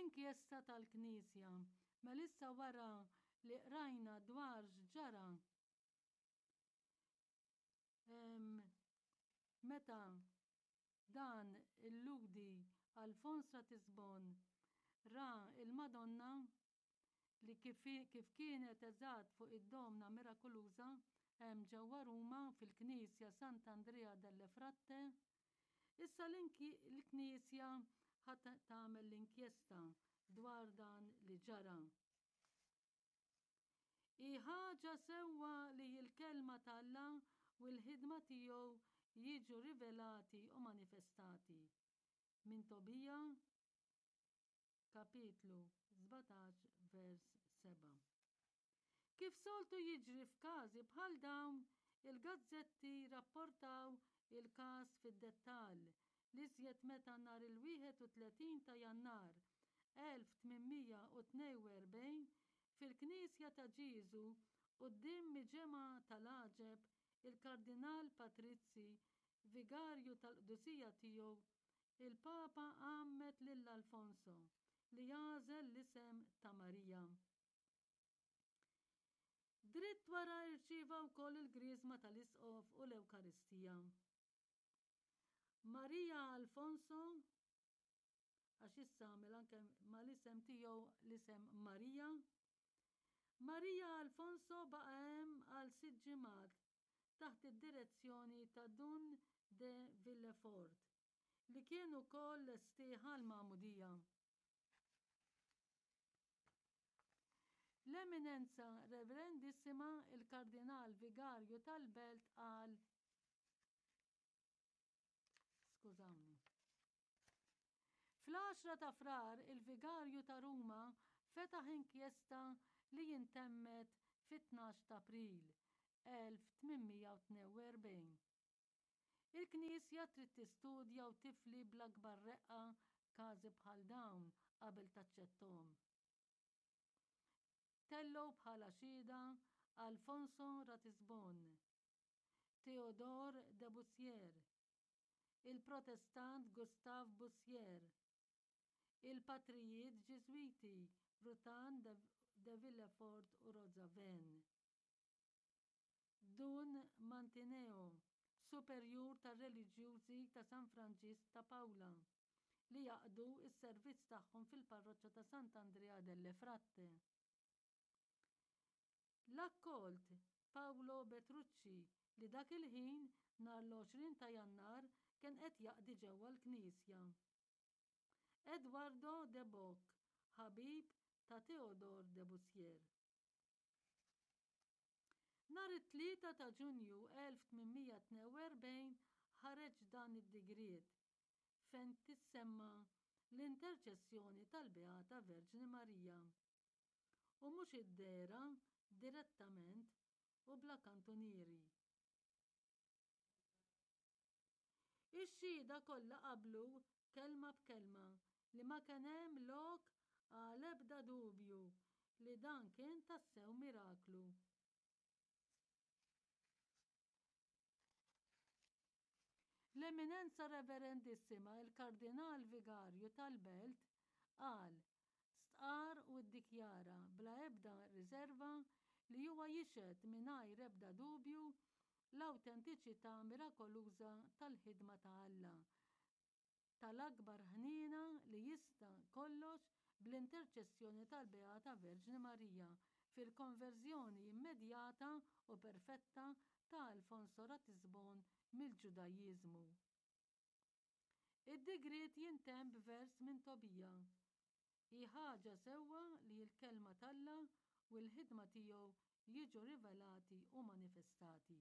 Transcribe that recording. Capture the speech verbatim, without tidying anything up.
L-inkjesta tal-Knisja. Mela issa wara li qrajna dwar x'ġara meta dan il-Lhudi Alfons Ratisbon ra il-Madonna li kif, kif kienet eżatt fuq id-Domna Mirakoluża hemm ġewwa Ruma fil-Knisja Sant'Andrea delle Fratte, issa l-Knisja ħa tagħmel l-inkjesta dwar dan li ġara. Hi ħaġa sewwa li l-kelma t'Alla u l-ħidma tiegħu jiġu rivelati u manifestati. Minn Tobija, kapitlu sbatax, vers sebgħa. Kif soltu jiġri f'każi bħal dawn, il-gazzetti rapportaw il-każ fid-dettall, l-iżjed meta nhar il-wieħed u tletin ta' Jannar elf tmien mija u tnejn u erbgħin fil-Knisja ta' Ġieżu quddiem miġemgħa tal-għaġeb il-Kardinal Patrizzi, vigarju tal-qdusija tiegħu, il-Papa għammed lil Alfonso li għażel l-isem ta' Marija. Dritt wara rċieva wkoll il-griżma tal-Isqof u l-Ewkaristija. Marija Alfonso, għax issa għamel anke mal-isem tiegħu l-isem Marija, Marija Alfonso baqa' hemm għal sitt ġimgħat taħt id-direzzjoni ta' Dun de Villefort, li kien ukoll lestih għall-magħmudija. L-Eminenza Reverendissima il-Kardinal Vigarju tal-Belt qal, skużawni. Fl-għaxra ta' Frar il-Vigarju ta' Ruma fetaħ inkjesta li intemmet fit-tnax ta' April elf tmien mija u tnejn u erbgħin. Il-Knisja trid tistudja u tifli bl-akbar reqqa każi bħal dawn qabel taċċettom. Tellgħu bħala xhieda Alfonso Ratisbon, Theodore de Bussier, il-Protestant Gustave Bussier, il-patrijiet Ġiżwiti Rutan de, de Villefort u Rozaven, Dun Mantineo, superjur tar-reliġjużi ta' San Franġisk ta' Paola, li jaqdu s-servizz tagħhom fil-parroċċa ta' Sant'Andrea delle Fratte. L-akkolt Paolo Petrucci li dak il-ħin nhar l-għoxrin ta' Jannar kien qed jaqdi ġewwa l-Knisja. Eduardo de Boc, ħabib ta' Theodore de Bussier. Nhar it-tlieta ta' Ġunju elf tmien mija tnejn u erbgħin ħareġ dan id-digriet fejn tissemma l-interċessjoni tal-Beata Verġni Marija u mhux id-dehra direttament u bla kantunieri. Ix-xhieda kollha qablu kelma b'kelma li ma kien hemm lok għal ebda dubju li dan kien tassew miraklu. L-Eminenza Reverendissima il-Kardinal Vigarju tal-Belt qal, stqarr u ddikjara bla ebda riserva li huwa jixhed mingħajr ebda dubju l-awtentiċità mirakoluża tal-ħidma ta' Alla, tal-akbar ħniena li jista' kollox bl-interċessjoni tal-Beata Verġni Marija fil-konverżjoni immedjata u perfetta ta' Alfonso Ratisbon mill-Ġudajiżmu. Id-digriet jintemm b'vers minn Tobija. Hi ħaġa sewwa li l-kelma t'Alla u l-ħidma tiegħu jiġu rivelati u manifestati.